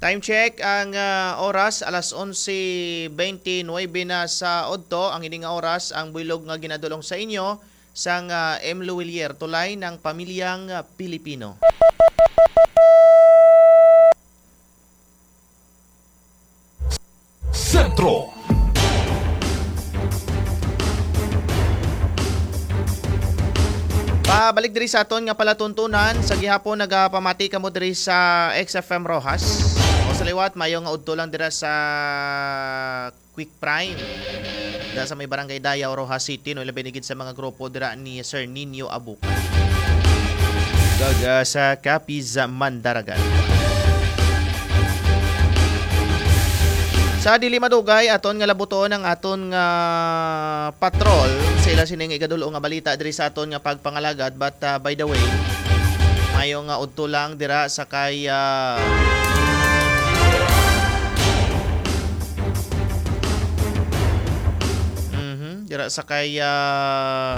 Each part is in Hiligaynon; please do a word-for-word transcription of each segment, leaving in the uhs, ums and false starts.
Time check, ang, ah, oras, alas onse twenty-nine na sa udto. Ang ini nga oras, ang buylog nga ginadulong sa inyo sang, ah, M Luwilier, Tulay ng Pamilyang, ah, Pilipino. Sentro. Pabalik diri sa aton nga palatuntunan, sa gihapon nagapamati kamo diri sa X F M Roxas. O sa liwat, mayo nga udto lang dira sa Quick Prime. Dira sa may Barangay Dayaw, Roxas City, no, ilabi na gid sa mga grupo dira ni Sir Nino Abuca. Kag, ah, sa Capiz, Mandaragal. Sa dili madugay, aton nga labuton ang aton nga patrol sa ila sining ikadulo nga balita diri sa aton nga pagpangalagad. But, ah, by the way, mayo nga udto lang dira sa kay, ah, mhm, dira sa kay, ah,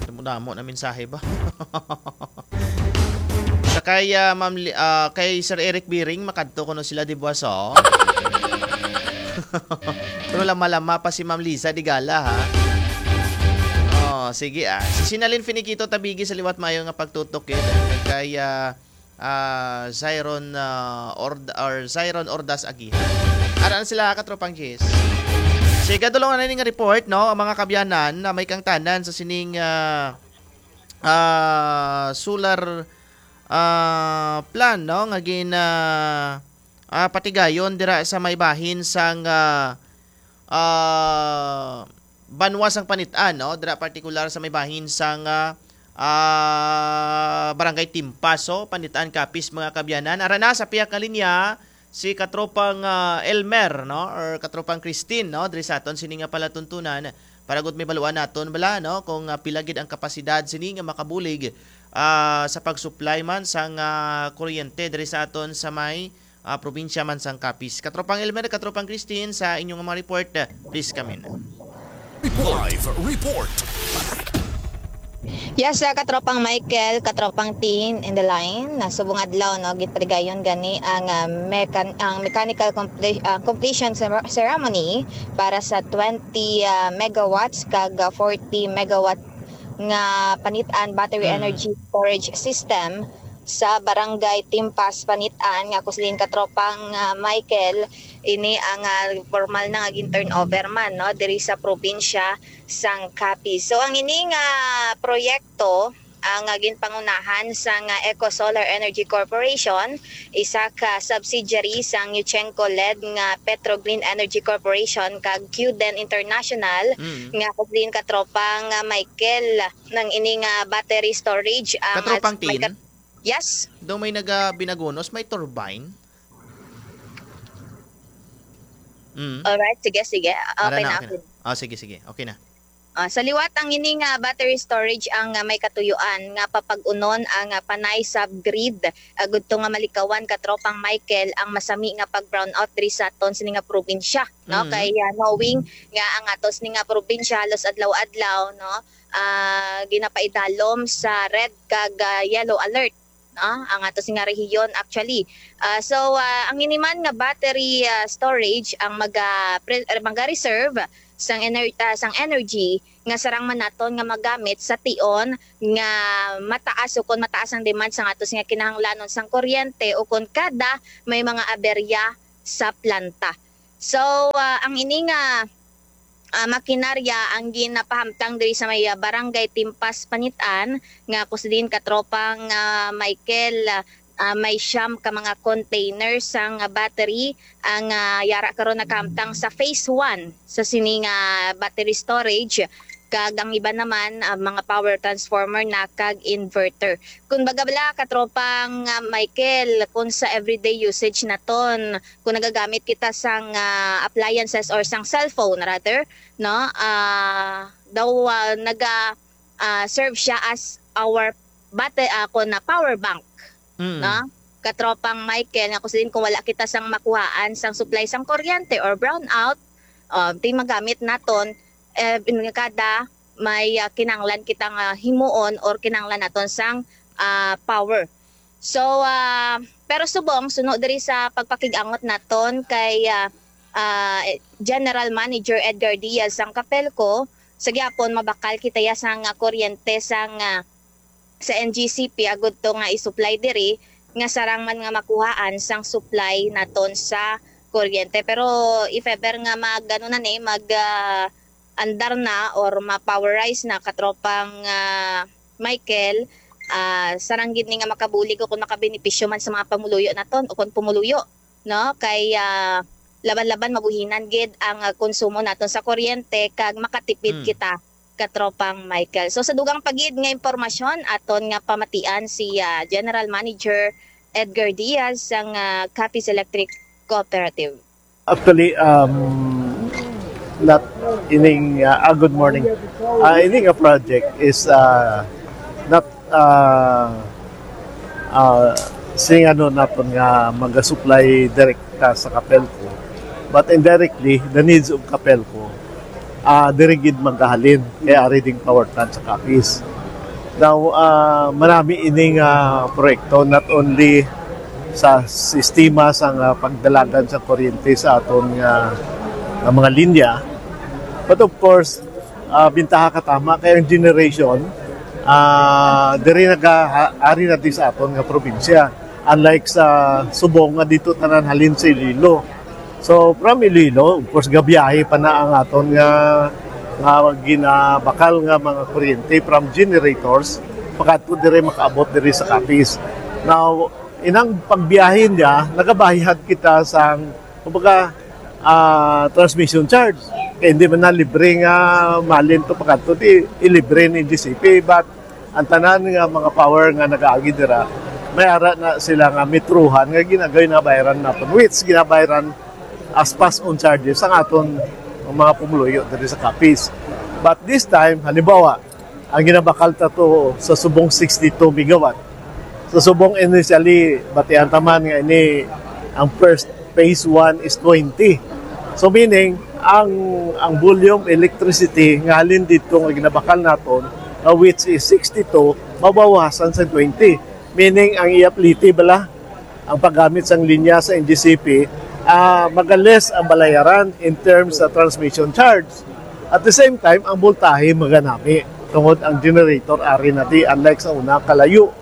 damo-damo na mensahe ba? Sa kay, ah, Ma'am Li-, ah, kay Sir Eric Biring, makadto kuno sila, di ba, so? Pero lama-lama pa si Ma'am Liza Digala, ha? Oh, sige, ah. Si Sinalin Finiquito Tabigi sa liwat, mayo nga pagtutok, eh. Kay, ah, ah, Zyron, ah, Ord-, or Zyron Ordas Agihan. Ara na sila, katropang Jis. Sige, dulong na ning report, no? Ang mga kabyanan na may kangtanan sa sining, ah, ah, solar, ah, plan, no, nga gin, ah, ah, patigayon dira sa may bahin sang, ah, ah, banwa sang Panitan, no, dira partikular sa may bahin sang, ah, ah, Barangay Timpaso, Panitan, Capiz, mga kabyanan. Ara na sa pihak nga linya, si katropang, ah, Elmer, no, or katropang Christine, no, diri sa aton sini nga palatuntunan para gud may baluan naton bala, no, kung, ah, pila gid ang kapasidad sini nga makabulig, ah, sa pag-supply man sang, ah, kuryente diri sa aton sa may, ah, probinsya man sang Capiz. Katropang Elmer, katropang Christine, sa inyong mga report, ah, please come in. Live report. Yes, ah, katropang Michael, katropang Tin in the line. Na subong adlaw, no, gipatigayon gani ang, ah, mechan-, ang mechanical comple-, ah, completion cere-, ceremony para sa twenty, ah, megawatts kag, ah, forty megawatt nga Panitan battery Mm. energy storage system sa Barangay Timpas, Panitan, nga ako siling katropang, ah, Michael, ini ang, ah, formal na nga gin-turnover man, no, diri sa probinsya sang Capiz. So, ang ini nga proyekto, ang, ah, ginpangunahan sang, ah, Eco Solar Energy Corporation, isa ka subsidiary sang Yuchengco-led nga Petro Green Energy Corporation kag Qden International, Mm. nga ako siling katropang, ah, Michael, nang ini nga battery storage, ang Katropang may Tin? kat-, yes. Daw may naga-, binagunos, may turbine? Mm. Alright, sige, sige. Ara Okay na, na, okay na. Okay. Ah, sige, sige. Okay na. Ah, sa liwat, ang ini nga battery storage ang, ah, may katuyuan nga papag-unon ang, ah, panay subgrid, ah, gudto nga malikawan, katropang Michael, ang masami nga pag-brownout diri sa aton sini nga probinsya, no? Mm. Kay, ah, knowing nga ang aton sini nga probinsya halos adlaw-adlaw, no, ah, ginapaidalom sa red kag, ah, yellow alert, no, ang ato sini nga rehiyon actually. Ah, so, ah, ang ini man nga battery, ah, storage ang maga-, pre-, maga-reserve sang ener-, ah, sang energy nga sarang man naton nga magamit sa tion nga mataas o kon mataas ang demand sang ato sini nga kinahanglanon sang kuryente o kon kada may mga aberya sa planta. So, ah, ang ini nga, ah, makinarya ang ginapahamtang diri sa may, ah, Barangay Timpas, Panitan, nga ako siling katropang, ah, Michael, ah, may siyam ka mga container sang, ah, battery ang, ah, yara karon nagkahamtang sa phase one sa sini nga battery storage, kag ang iba naman, ah, mga power transformer na kag inverter. Kung baga bala, katropang, ah, Michael, kung sa everyday usage naton, kung nagagamit kita sang, ah, appliances or sang cellphone rather, no? Ah, daw, ah, naga, ah, serve siya as our bate-, ah, kung na power bank, Mm. no? Katropang Michael, nga kung sin-, kung wala kita sang makuhaan sang supply sang kuryente or brownout, ah, di magamit naton, eh, in-, kada may, ah, kinanglan kita nga himuon or kinanglan naton sang, ah, power. So, ah, pero subong, suno diri sa pagpakig-angot naton kay, ah, ah, General Manager Edgar Diaz sang Capelco, sa gihapon mabakal kita ya sang, ah, kuryente sang, ah, sa N G C P agud to nga i-supply diri, nga sarang man nga makuhaan sang supply naton sa kuryente. Pero if ever nga mag, ano na ni, mag, ah, andar na or ma-powerize na, katropang, ah, Michael, ah, sarang gid ni nga makabulig o kung makabenepisyo man sa mga pamuluyo naton o kung pumuluyo, no? Kay, ah, laban-laban mabuhinan gid ang, ah, konsumo naton sa kuryente kag makatipid Hmm. kita, katropang Michael. So, sa dugang pa gid nga impormasyon, aton nga pamatian si, ah, General Manager Edgar Diaz sang, ah, Capiz Electric Cooperative. Actually, um, not ining, uh, ah, good morning. Uh, ining a project is, uh, not, uh, uh, sing ano naton nga mag-supply direkta sa Capelco, but indirectly, the needs of Capelco, uh, diri gid magahalin kay ari ding power plant sa Capiz. Now, ah, marami ining, ah, proyekto, not only sa sistema sang, ah, pagdalagan sa kuryente sa aton nga, nga mga linya, but of course, ah, bintaha katama kay ang generation, ah, diri naga-, ari na di sa aton nga probinsya. Unlike sa subong nga dito tanan halin sa Iloilo. So, from Iloilo, of course, gabiyahe pa na ang aton nga, nga ginabakal nga mga kuryente from generators, pakadto diri makaabot diri sa Capiz. Now, inang pagbiyahe niya, nagabayad kita sang, kumbaga, ah, transmission charge. Kay hindi man na libre nga malin to pakadto, di ilibre ni G C P, but ang tanan nga mga power nga nagaagi dira, may ara na sila nga metruhan nga ginagay na bayaran naton, which ginabayaran as pass-on charges ang aton mga pumuluyo diri sa Capiz. But this time, halimbawa, ang ginabakal ta to sa subong sixty-two megawatt. Sa subong initially, batian ta man nga ini ang first phase one is twenty. So meaning, ang, ang volume electricity nga halin dito nga ginabakal naton, uh, which is sixty-two, mabawasan sa twenty. Meaning, ang iya plite bala, ang paggamit sang linya sa N G C P, ah, maga-less ang balayaran in terms sa transmission charge. At the same time, ang voltahe maganami tungod ang generator ari na di, unlike sa una, kalayo.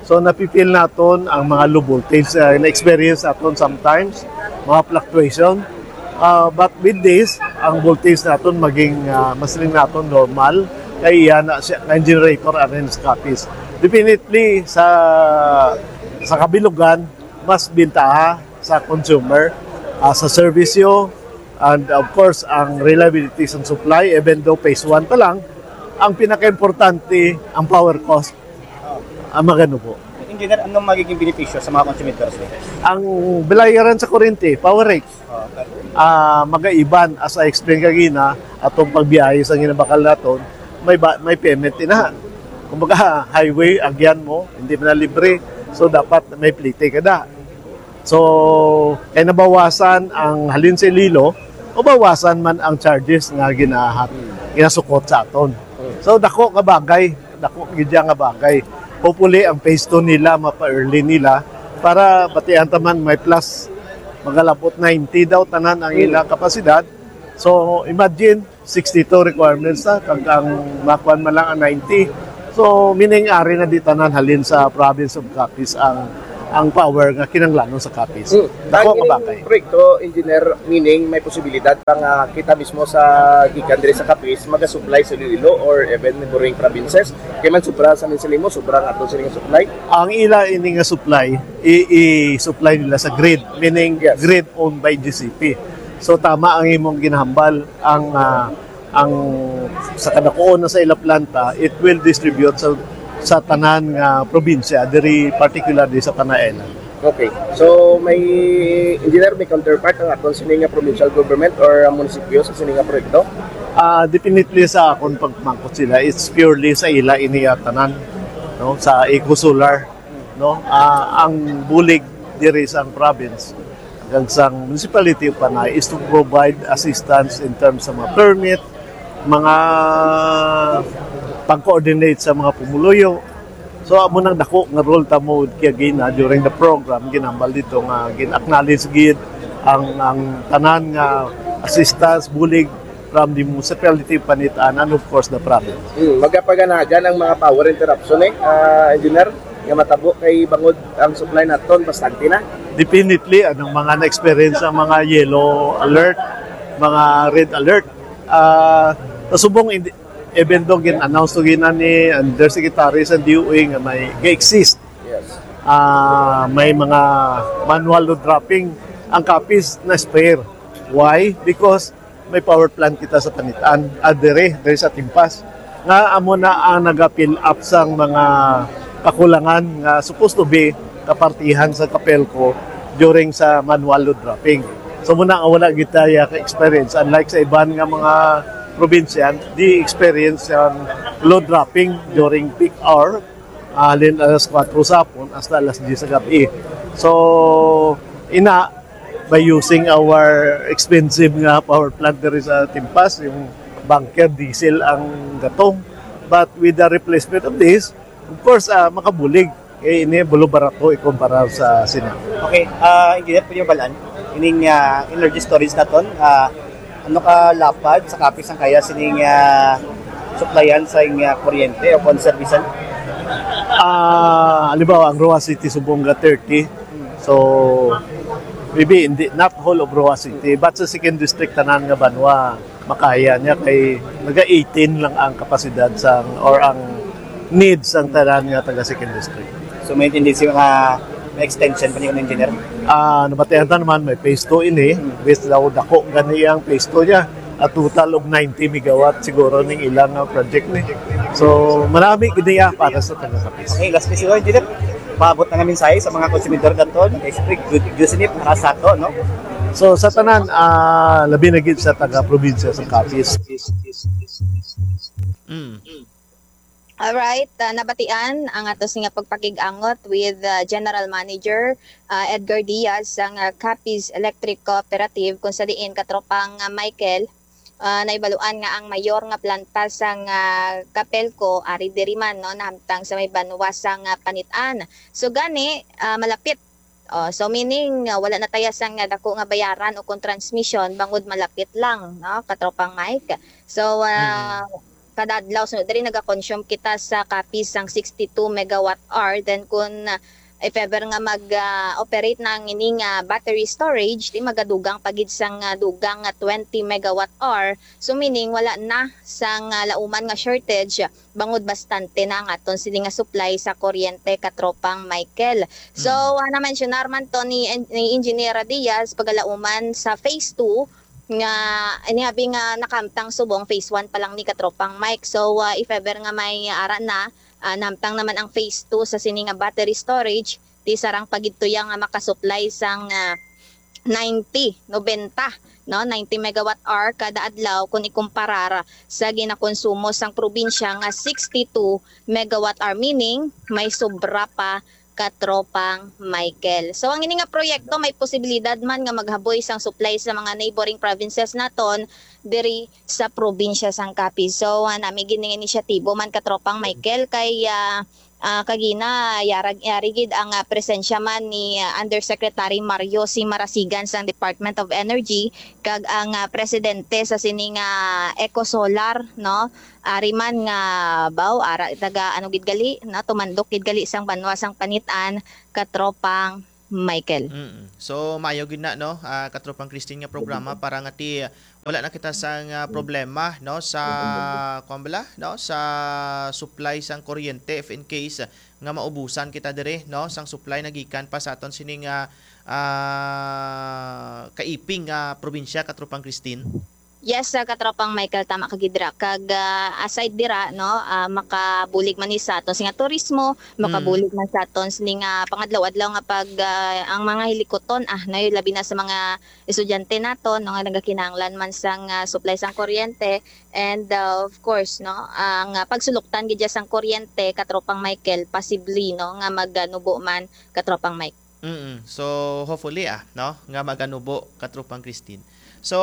So, napipil naton ang mga low voltage, ah, na-experience naton sometimes, mga fluctuation. Ah, but with this, ang voltage naton maging, ah, mas rin naton normal. Kay iya na siya, ang generator arin sa Capiz. Definitely, sa, sa kabilugan, mas bintaha sa consumer, ah, sa serbisyo, and of course, ang reliability sa supply, even though phase one pa lang, ang pinakaimportante, ang power cost, ang magano po. Engineer, anong magiging benepisyo sa mga consumidor, sir? Ang balayaran sa kuryente, power rate. Ah, magaiban, as I explain kagina, atong pagbiyahe sa ginabakal naton, may ba, may payment inahan. Kumbaga, highway, agyan mo, hindi man na libre. So, dapat may plite ka da. So, kay nabawasan ang halin sa Iloilo, mabawasan man ang charges nga ginahat, ginasukot sa aton. So, dako nga bagay, dako gid nga bagay. Hopefully, ang phase two nila, mapa-early nila, para batian ta man may plus, magalabot ninety daw tanan ang ilang kapasidad. So, imagine, sixty-two requirements na, kag ang makuan man lang ang ninety. So, meaning, ari na di tanan halin sa province of Capiz ang, ang power nga kinahanglanon sa Capiz. Hmm. Dako Ang ka ining bagay. Proyekto, engineer, meaning may posibilidad pa nga kita mismo sa gikan diri sa Capiz, maga-supply sa Iloilo or even neighboring provinces? Kay man sobra sa Minsalimo, sobra nga ato sila nga supply. Ang ila ini nga supply, i-, i-supply nila sa grid, meaning Yes. grid owned by G C P. So, tama ang imong ginahambal, ang, ah, ang sa kadakuon na sa ila planta, it will distribute sa, sa tanan nga probinsya, diri particularly sa Panay Island. Okay. So, may, engineer, may counterpart ang aton sini nga provincial government or ang munisipyo sa sini nga proyekto? Ah, definitely sa akon pagpamangkot sila, it's purely sa ila ini tanan, no, sa Eco Solar, no. Ah, ang bulig diri sa province kag sang municipality of Panay is to provide assistance in terms sa mga permit, mga pag-coordinate sa mga pumuluyo, So, amo nang dako nga role ta mo kay gina during the program, ginambal dito nga gin-acknowledge gid ang, ang tanan nga assistance, bulig from the municipality of Panitan and of course the province. Hmm, magapaganagan ang mga power interruption eh, ah, engineer, nga matabo kay bangod ang supply naton bastante na. Definitely, anong mga na-experience ang mga yellow alert, mga red alert, ah, sa subong, hindi, even though gin-announce to gina ni undersecretary sa D O E nga may ga-exist, Yes. ah, may mga manual load dropping, ang Capiz na-spare. Why? Because may power plant kita sa Panitan, ah, dire, dire sa Timpas. Nga amo na ang naga-fill up sang mga kakulangan nga supposed to be kapartihan sa Capelco during sa manual load dropping. So, muna nga wala kita ya ka-experience, unlike sa iban nga mga probinsya, di experience ang load dropping during peak hour, halin alas kuwatro sa hapon hasta alas diyes sa gabi. So, ina, by using our expensive nga power plant diri sa Timpas, yung bunker diesel ang gatong. But with the replacement of this, of course, ah, makabulig. Eh, ini bulo barato ikumpara sa sina. Okay, ah, engineer, pwede mo balaan? Ining ah, energy storage naton, ah, ano ka lapad sa Capiz ang kaya sining ah, supplyan sa ing ah, kuryente o kon servisan? Ah, halimbawa, ang Roxas City subong ga thirty. So, maybe hindi, not whole of Roxas City, but sa second district, tanan nga banwa, makaya niya kay naga eighteen lang ang kapasidad sang, or ang needs sang tanan nga taga second district. So may tendency nga may extension pa ni engineer? Ah, nabatian ta naman, may phase two ini, based daw dako gani ang phase two niya. At total of ninety megawatt siguro ning ilang ah, project ni. So, marami gid niya para sa taga Capiz. Okay, last question, engineer. Paabot na nga mensahe sa mga konsumidor naton, kay siyempre good news ini para sa ato, no? So, sa tanan, ah, labi na gid sa taga-probinsya sa Capiz. Mm. Alright, ah, nabatian ang atos nga pagpakig-angot with ah, General Manager ah, Edgar Diaz sang ah, Capiz Electric Cooperative, kung sa diin, katropang ah, Michael, ah, naibaluan nga ang mayor nga planta sang ah, Capelco ari diri man, no, nahamtang sa may banwa sang ah, Panitan. So gani, ah, malapit. Oh, so meaning ah, wala na taya sang ah, dako nga bayaran o kon transmission bangod malapit lang, no, katropang Mike. So ah, kada adlaw, so diri naga-consume kita sa Capiz sang sixty-two megawatt hour. Then kung ah, if ever nga mag ah, operate na ang ini nga battery storage, di magadugang pa gid sang ah, dugang nga twenty megawatt hour. So meaning wala na sang ah, lauman nga shortage bangod bastante na ang aton sini nga supply sa kuryente, katropang Michael. So, ah, na-mentionar man to ni, ni Engineer Diaz, pagalauman sa phase two nga ini abi nga nakamtang subong, phase one pa lang ni, katropang Mike. So, ah, if ever nga may ara na, ah, namtang naman ang phase two sa sini nga battery storage, ti sarang pagidtuya nga makasupply sang ah, ninety, nobenta, no, ninety megawatt hour kada adlaw kung ikumparar sa ginakonsumo sang probinsya nga sixty-two megawatt hour, meaning may sobra pa, katropang Michael. So ang ini nga proyekto may posibilidad man nga maghaboy sang supply sa mga neighboring provinces naton diri sa probinsya sang Capiz. So ah, nami gid ning inisyatibo man, katropang Michael, kay ah, ah, kagina yarag yari gid ang ah, presensya man ni ah, Undersecretary Mario C. Marasigan sang Department of Energy kag ang ah, presidente sa sini nga Ecosolar, no? Ari man nga baw ara taga ano gid gali, no? Tumandok gid gali sang banwa sang Panitan, katropang Michael. Mm. So maayo gid na, no, ah, katropang Christine, nga programa para nga ti wala na kita sang ah, problema, no, sa kuan bala, no, sa supply sang kuryente, if in case nga maubusan kita diri, no, sang supply nagikan pa sa aton sini nga ah, kaiping nga probinsya, katropang Christine. Yes, ah, katropang Michael, tama ka gid dira. Kag ah, aside dira, no, ah, makabulig man ni sa aton sini nga turismo, makabulig man sa aton sini nga pangadlaw-adlaw nga pag ah, ang mga hilikuton, ah, no, labi na sa mga estudyante naton, no, nga nagakinahanglan man sang ah, supply sang kuryente, and ah, of course, no, ang ah, pagsuluktan gid dyan sang kuryente, katropang Michael, possibly, no, nga maganubo man, katropang Mike. Mm. So hopefully, ah, no, nga maganubo, katropang Christine. So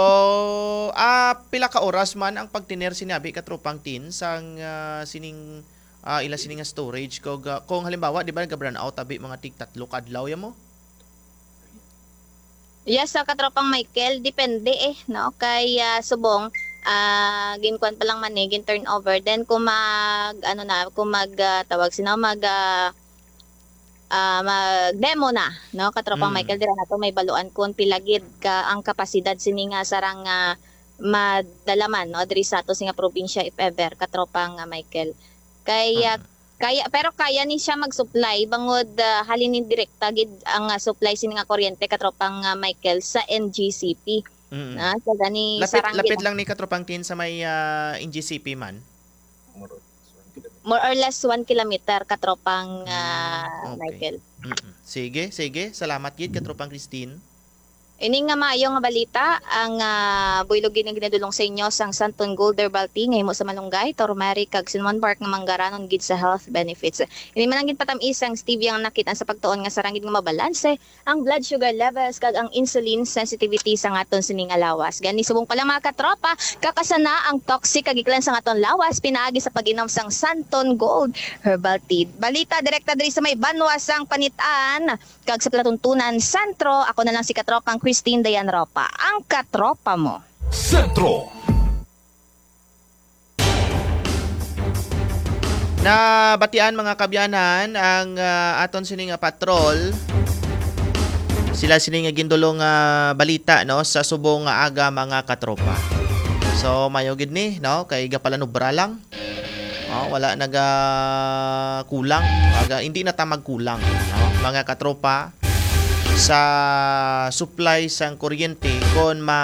ah, pila ka oras man ang pagtener sini abi, katropang Tin, sang ah, sining ah, ila sini nga storage. Kung, ah, kung halimbawa, di ba, nag-brownout abi mga tig tatlo ka adlaw ya mo? Yes, sa katropang Michael, depende eh, no? Kay, ah, subong, ah, ginkuan pa lang man eh, gin-turnover. Then kung mag, ano na, kung mag, ah, tawag sino, mag, ah, ah, mag-demo na, no? Katropang Mm. Michael, dira nato may baluan kung pila gid ka ang kapasidad sini nga sarang, ah, madala man, no? Diri sa ato sini nga probinsya, if ever, katropang, ah, Michael. Kay, ah, Mm. kaya, pero kaya ni siya mag-supply bangod, ah, halin ni direkta gid ang, ah, supply sini nga kuryente, katropang, ah, Michael, sa N G C P. Mm. Na, sa gani Lapit, sarang lapit gid lang ni katropang Tin sa may, ah, N G C P man. More or less one kilometer, katropang, Mm, ah, okay. Michael. Mm-mm. Sige, sige. Salamat gid, katropang Christine. Ini nga maayo nga balita, ang, ah, buylog gid nga ginadulong sa inyo sang Santon Gold Herbal Tea nga himo sa malunggay, turmeric, kag cinnamon bark nga manggaranon gid sa health benefits. Ini man ang ginpatamis sang stevia nga nakit-an sa pagtuon nga sarang gid nga mabalanse ang blood sugar levels kag ang insulin sensitivity sa aton sini nga lawas. Gani subong pa lang, mga katropa, kakasana ang toxic kag iklan sa aton lawas pinaagi sa pag-inom sang Santon Gold Herbal Tea. Balita direkta diri sa may banwa sang Panitan kag sa Palatuntunan Sentro. Ako na lang si katropang Christine Dayan Ropa, ang katropa mo. Sentro. Nabatian, mga kabyanan, ang, ah, aton sini nga patrol. Sila sini nga gindulong nga balita, no, sa subong nga aga, mga katropa. So, mayo gid ni, no, kay gapalanubra lang. Oh, wala naga kulang. Aga, hindi na ta magkulang, no, mga katropa, sa supply sang kuryente kon ma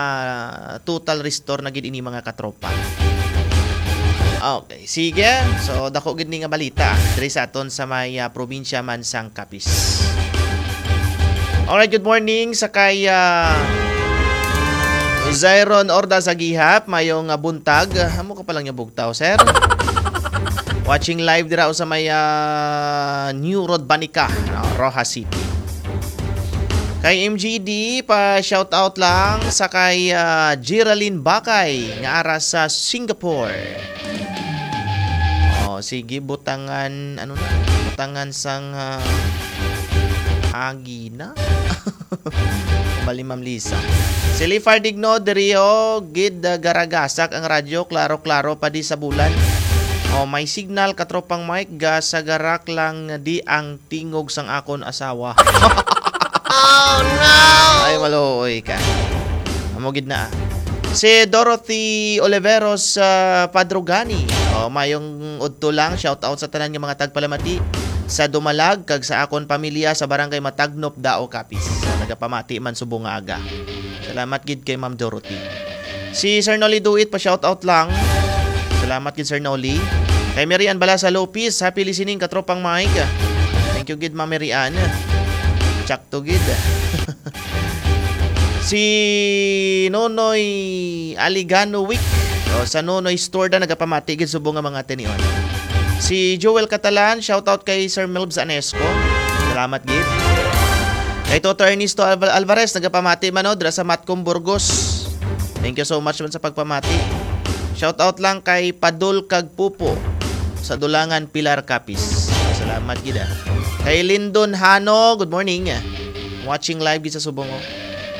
total restore na gid ini, mga katropa. Okay, sige. So, dako gid ni nga balita diri sa aton sa may, ah, probinsya man sang Capiz. Alright, good morning sa kay, ah, Zyron Orda sa Gihap. Mayong, ah, buntag. Amo ka pa lang yung bugtaw, sir. Watching live dira sa may, ah, New Road Banica, no, Roxas City. Kay M G D, pa shout out lang sa kay, ah, Geraldine Bakay nga ara sa Singapore. Oh, sige, butangan, ano na? Butangan sang, ah, agi na. Bali, Ma'am Lisa. Si Lifar Digno, diri, oh, gid, ah, garagasak ang radyo, klaro-klaro pa di sa bulan. Oh, may signal, katropang Mike, ga sa garak lang di ang tingog sang akon asawa. Oh, no! Ay, maluoy ka. Amo gid na, ah. Si Dorothy Oliveros, ah, Padrugani. Oh, mayong udto lang. Shout out sa tanan nga mga tagpalamati sa Dumalag kag sa akon pamilya sa Barangay Matagnop, Dao, Capiz. Nagapamati man subong nga aga. Salamat gid kay Ma'am Dorothy. Si Sir Nolly Duit, pa shout out lang. Salamat gid, Sir Nolly. Kay Mary Ann Balasa Lopez, happy listening, katropang Mike. Thank you gid, Ma'am Mary Ann. Tsakto gid. Si Nonoy Aligano Wick, o, sa Nonoy Store da, nagapamati gid subong nga mga tinion. Si Joel Catalan, shout out kay Sir Melbs Anesco. Salamat gid. Kay Toto Ernesto Alva-, Alvarez, nagapamati man, no, dira sa Matcom, Burgos. Thank you so much man sa pagpamati. Shout out lang kay Padol kag Pupo sa Dulangan, Pilar, Capiz. Salamat gid, ah. Kay Lindon Hano, good morning. Watching live gid sa subong, oh.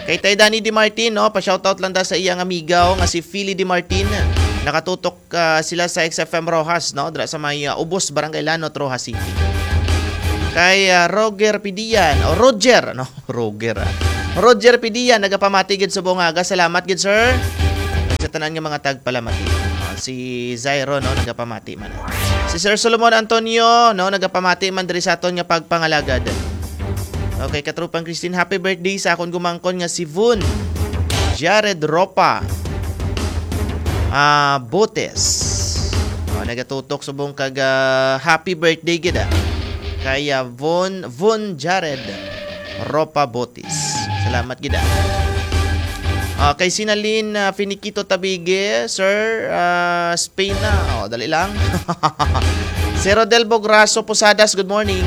Kay Tay Danny Di Martin, no, pa-shout out lang da sa iyang amiga, oh, nga si Philly Di Martin. Nakatutok, ah, sila sa X F M Roxas, no, dira sa may, ah, Ubos, Barangay Lanot, Roxas City. Kay, ah, Roger Pidian, o Roger, no? Roger, ah. Roger Pidian, nagapamati gid subong nga aga. Salamat gid, sir. Sa tanan nga mga tagpalamati. Ah, si Zyro, no, nagapamati man. Si Sir Solomon Antonio, no, nagapamati man diri sa aton nga pagpangalagad. Okay, katropang Christine, happy birthday sa akon gumangkon nga si Vun Jared Ropa, ah, Botes. Oh, nagatutok subong kag, ah, happy birthday gid, ah. Kay, ah, Von, Von Jared Ropa Botis. Salamat gid, ah. Ah, kay Sinalin, ah, Finiquito Tabigue, Sir, ah, Spain na. Oh, dali lang. Si Rodel Bograso Posadas, good morning.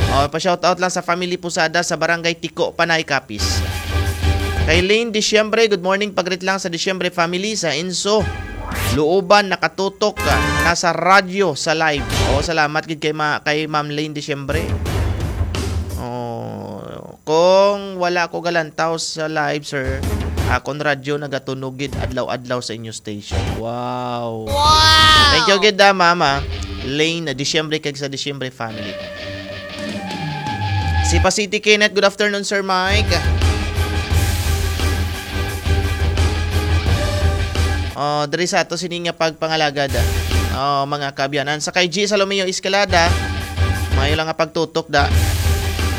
Oh, pa-shout out lang sa family Posadas sa Barangay Tiko, Panay, Capiz. Kay Lane Diciembre, good morning. Pagrit lang sa Diciembre family sa Inso. Luoban, nakatutok ka. Nasa radyo sa live. Oo, salamat gid kay, ma kay Ma'am Lane Diciembre. Oh, kung wala ko galantaw sa live, sir, akon radyo nagatunog gid adlaw-adlaw sa inyo station. Wow. Wow! Thank you gid, ah, Mama Lane Diciembre kag sa Diciembre family. Si Pasiti Kenneth, good afternoon, Sir Mike. Oh, diri sa ato sini nga pagpangalagad, ah. Oh, mga kaabyanan. Sa kay G Salomeo Escalada, maayo lang nga pagtutok da.